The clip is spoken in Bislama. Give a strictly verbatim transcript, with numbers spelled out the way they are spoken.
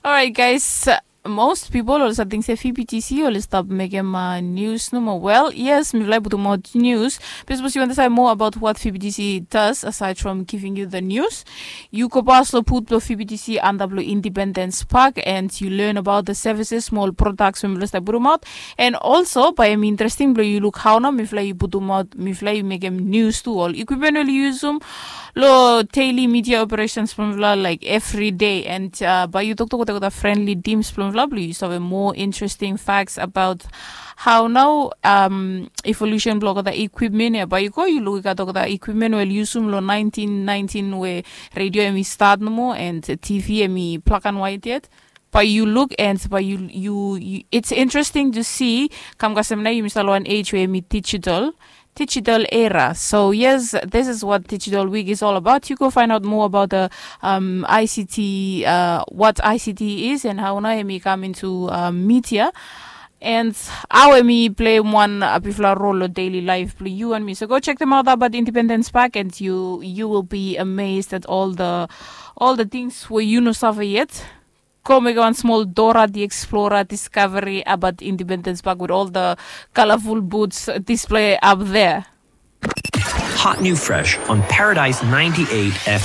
Alright, guys. Most people oli save ting se V B T C oli stap mekem uh, news nomo. Well, yes, mifala i putumaot news. But suppose you want to say more about what V B T C does aside from giving you the news, you go pas lo put lo V B T C under lo Independence Park and you learn about the services, small products we mifala stap putumaot. And also, by em interesting blo you look how now mifala i putumaot, mifala i mekem news to all equipment oli usum lo daily media operations from mifala like every day. And uh, by you talk to the friendly teams from mifala, you have more interesting facts about how now um, evolution blog the equipment ya. By you go, you look at the equipment well usum lo nineteen nineteen where radio emi start no more and T V emi black and white yet. But you look and but you you, you it's interesting to see. Kam kasem na you must one age where me digital digital era. So yes, this is what Digital Week is all about. You go find out more about the um, I C T, uh, what I C T is and how now emi come into uh, media. And how emi play one uh, bifla role of daily life play you and me. So go check them out about Independence Park and you you will be amazed at all the all the things where you know suffer yet. Go make one small Dora the Explorer discovery about Independence Park with all the colorful boots display up there. Hot new fresh on Paradise ninety-eight F M.